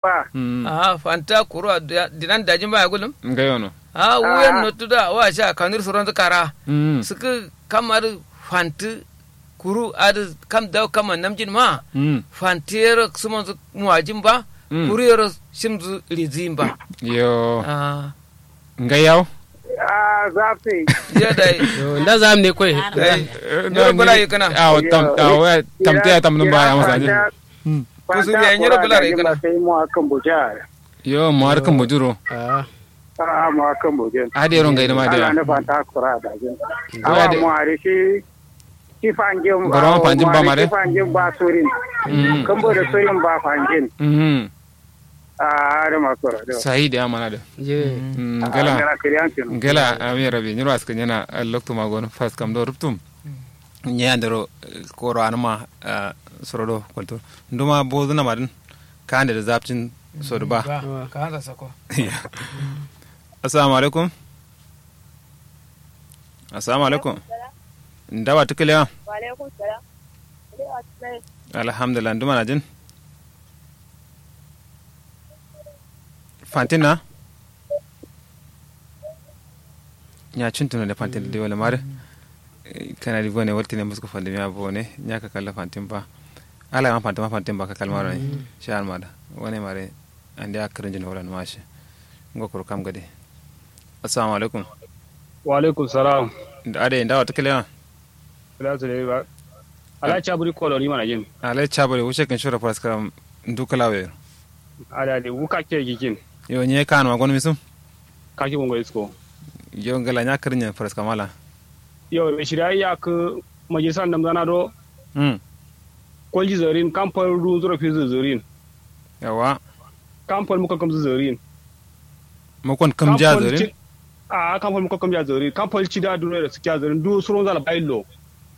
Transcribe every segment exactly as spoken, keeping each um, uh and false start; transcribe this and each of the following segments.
Ba. Ahh fantǝ a kuru a dinan dajin ba ya gulum. Ngai wono. Ahh wuyen nottu da wa sha kanur suronzǝ kara. Sǝkkǝ kam adǝ fantǝ kuru adǝ kam dawu kamma namjin ma. Fantǝ yero sǝmonzǝ muwajin ba. Kuru yero shimzǝ rizǝyin ba. Yo. Ahh. Ngai yawo. Ahh zafte. Yo dai. Nda zam ne koi. Dai. Nyiro bula yikǝna. Awo tam awo ya tamte ya tamnum ba ya masa jin. Kusu biya nyiro bula yikǝna. Sai mu akan buja. Yo mu har kan bujuro. Ahh. Ahh mu akan bujin. Ade ro ngai ma de. Ala ne fanta kura da jin. Awa mu hari shi. Shi fanjin. Goro ma fanjin ba ma de. Shi fanjin ba surin. Kambo da surin ba fanjin. Ahh adǝ ma kura de. Sahi de amana de. Ngela. Ngela amin rabi nyiro askǝ nyena. Loktu ma gono fas kam do ruptum. Nye andero. Koro anǝma. Sorodo kolto. Nduma bozuna madǝn. Kande da zapcin. Sodu ba. Kanza sako. Assalamu alaikum. Assalamu alaikum. Ndawa tukule wa. Alhamdulillah nduma na jin. Fantin na. Nya cuntuno de fantin de wala mare. Kana di bone waltine musko fande miya bone nya ka kalla fantin ba. Ala ma fantin ma fantin ba ka kalmaro ne. Sha almada wane mare. Ande a kǝrǝnjin wala numashi. Ngo kuru kam gade. Assalamu alaikum. Wa alaikum salam. Ade ndawa tukule wa. Kǝla sǝle ba. Alai caburi kolori mana jin. Alai caburi wuce kǝn shiro faraskaram. Ndu kǝla wero. Ade ade wu kake gikin. Yo nye kanu ma gonu misum. Kake gongo isko. Yo ngala nya kǝrǝnjin faraskam ala. Yo shirya yakǝ. Majalisan namzana do. Kolji zorin kam fal du nzuro fizu zorin. Yawa. Kam fal mukon kamzu zorin. Mukon kamja zorin. Ahh kam fal mukon kamja zorin kam fal cida duno yero sikkiya zorin du suronza la bayillo.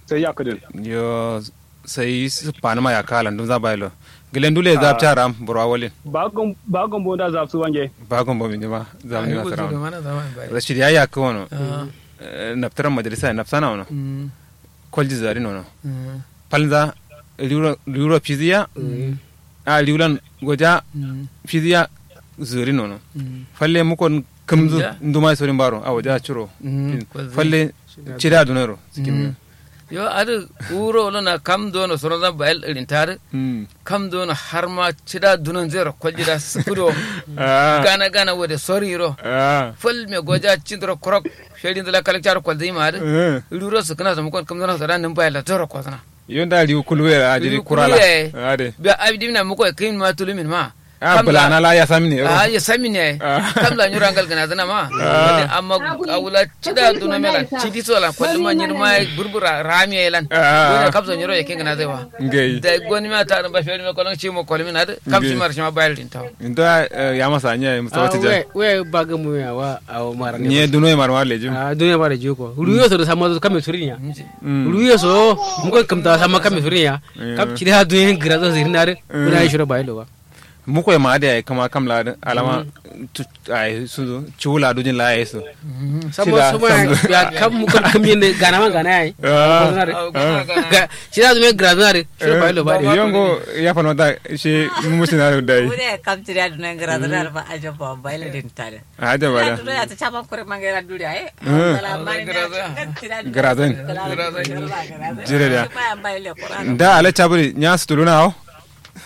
Sai yakǝdin. Yo. Sai sǝffanǝma yakka alan dunza bayillo. Gǝlen dule zapca ram burwa walin. Ba gombo nda zapsu wange. Ba gombo mindima. Zamni masara. Rashid ya yakkǝ wono. Naftaran majalisa nafsana wono. Kolji zarin wono. Falnza. Riwuro fiziya. Ahh riwulan goja. Fiziya. Zurin wono. Falle mukon kǝmzǝ. Nduma ye sorin baro awo ja curo. Falle. Cida duno yero. Yo adǝ wuro wulona kam dono soronza bayil ǝrinta dǝ. Kam dono harma cida dunonzǝ yero kolji da sǝkkǝ do. Gana gana wode sorin yero. Fal me goja cindoro kurok. Sherinzǝ la kalakca do kolzǝ yima adǝ. Riwuro sǝkkǝna so mukon kǝmzǝna so da nǝm bayil la toro kozǝna. Yo nda riwu kulu yero ajiri kurala. Ade. Biya abi dimina muko ye kǝyinma tuluminma. Ahh bǝlana la yasamine yero. Ahh yasamine yayi. Kam la nyiro angal gǝnazǝna ma. Amma awula cida duno melan cidi so lan kolluma nyirma ye burbura ramiye lan. Wuna kam so nyiro yakin gǝnazai wa. Ngai. Dai gonimiya ta dǝn ba feri me kolon shimo kolmin adǝ. Kam shima rǝ shima bayil din tawo. Nda. Yama sanya ye mustawa tija. Wai wai ba gǝmu yawa. Awo mara ne nye duno ye mara mara lejim. Ahh duno ye mara lejim ko ruyo so dǝ samma so kamme surinya. Ruyo so. Mukon kǝmta samma kamme surinya. Kam cida duno ye gǝrazo sirina dǝ. Wuna ye shiro bayil lo ba. Mukoye ma adǝ yayi kǝma kam la adǝ alama. Ayi sudu cuwu la dujin la yayi su. Samma samma ya kam mukon kǝm yin dǝ gana ma gana yayi. Cida dǝ me grazǝna dǝ. Shiro bayilo ba dǝ yongo. Ya falmata shi mumusina dǝ dayi. Kam cida dǝ me grazǝna dǝ ba ajabba bayilo dǝ nta dǝ. Ajabba da. Cida dǝ ya tǝ caman kure mangaira duri ayi. Grazǝn. Jire da. Nda ala caburi nya sutuluna awo.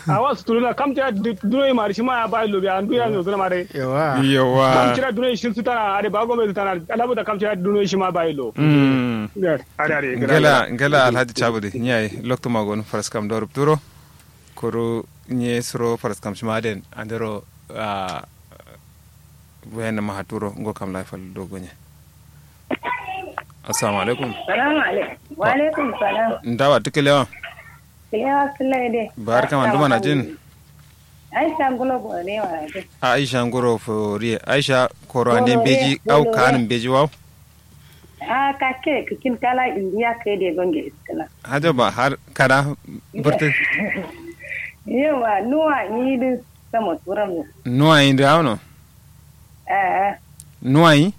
Awa sutuluna kam tiya duno yima adǝ shima ya bayillo biya ndu ya nozuna ma dai. Yawa. Kam cida duno ye shin sutana adǝ ba gombe sutana alabuta kam cida duno ye shima bayillo. Ngela ngela alhaji caburi nyayi loktu ma gonu faraskam do rupturo. Kuru nye suro faraskam shima den andero. Ahh. Wayan nama haturo ngo kam layi fal do gonye. Assalamu alaikum. Salamu alaikum. Wa alaikum salam. Ndawa tukelewa. Kelewa sulai de. Barka ma nduma na jin. Aisha nguro bore wa de. Aisha nguro foriye aisha koro ande mbeji au kan mbeji wau. Ahh kake kǝkin kala indiya kai de gonge iskǝna. Haja ba har kada. Bǝrtǝ. Yawa nuwa nyi dǝ. Samo turam. Nuwa nyi dǝ awuno. Ahh. Nuwa nyi.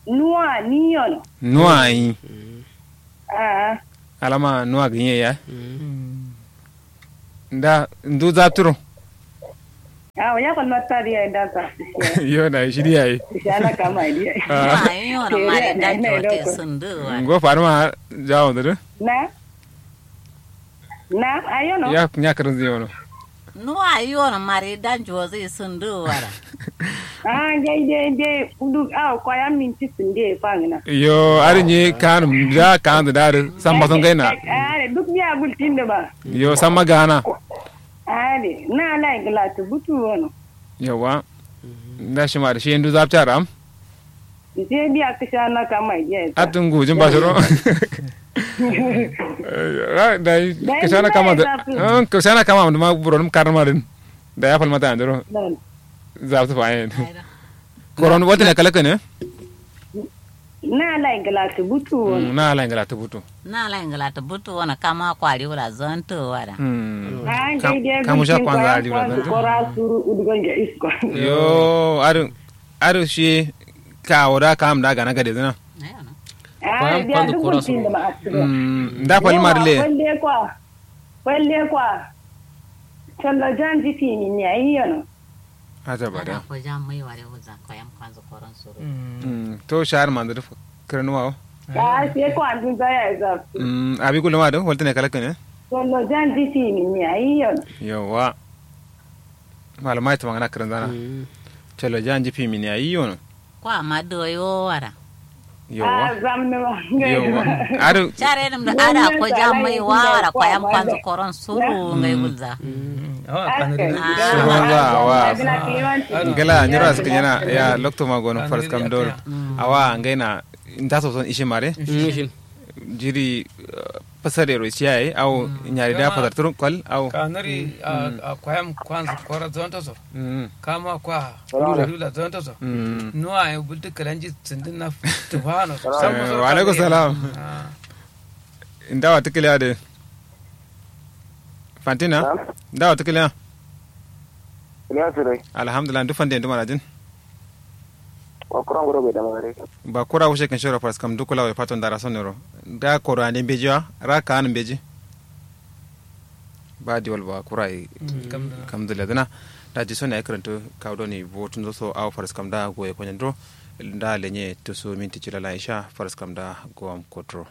Nuwa nyi yono. Nuwa nyi. Ahh. Alama nuwa gǝnye ya. Nda ndu zapturo. Awo ya kwalma ta diya da sa. Yo na shi diya yi. Shana kama diya. Ah. Ayo na mare da jote sundu wa. Ngo farma jawo da. Na. Na ayo no. Ya nya karin zai wono. No ayo na mare da jote sundu wara. Ah, dai dai dai duk awo kwaya minti sunde fangina. Yo ari nye kan da kan da da samma son gaina. Are duk biya gultin da ba. Yo samma gana. Are na lai glatu butu wono. Yawa. Nda shi ma da shi indu zapta ram. Nte biya kisha na kama iya ita. Atun gujin ba shiro. Ra da kisha na kama da. Kisha na kama da ma buro num karma din. Da ya falmata andro. Zapta fa yin. Koron wata ne kalaka ne? Na lai glatu butu wono. Na lai glatu butu. Na lai ngla ta butu wona kama kwari wula zonto wada. Kamu sha kwanza ali wula zonto. Kora suru udugon ja isko. Yo adu adu shi ka wada kam da gana gade zina. Kwayam kwanza kora suru. Nda fali marle. Falle kwa falle kwa. Sanda jan ji fini ne ayi yano. Aja bada. Ko jam mai ware wuza ko yam kwanzu koron suru. To shahar manzu duk kiran wawo. Ya sai ko an dun zaya za. Abi kullum adu walta ne kalaka ne. Wallo jan ji fini ne ayi yano. Yawa. Malama ita magana kiran zana. Calo jan ji fini ne ayi yano. Kwa ma doyo wara. Yawa. Yawa. Adu. Care dum da ada ko jam mai wara ko yam kwanzu koron suru ngai gulza. Suru ngai wa. Ngala nyura suka yana ya lokto ma gono faras kam doro. Awa ngai na nda so son ishe mare. Jiri pasare ro siya ye awo nyari da pasar turun kwal awo. Kanari a kwayam kwanzu kora zonto so. Kama kwa lula zonto so. Nuwa ye bultu kalanji sindin na tufano. Wa alaikum salam. Nda wa tukiliya de. Fantina. Nda wa tukiliya. Alhamdulillah ndu fande ndu manajin. Wa kura ngoro bai da magare. Ba kura wushe kan shoro faras kam dukula wai faton dara sonero. Da koro ande mbeji wa ra ka an mbeji. Ba diwal ba kura yi. Kamdu ladana. Da ji sona ya karanto kawo doni botun zo so awo faras kam da goye konyen dro. Da lenye to so minti cilala isha faras kam da gowam kotro.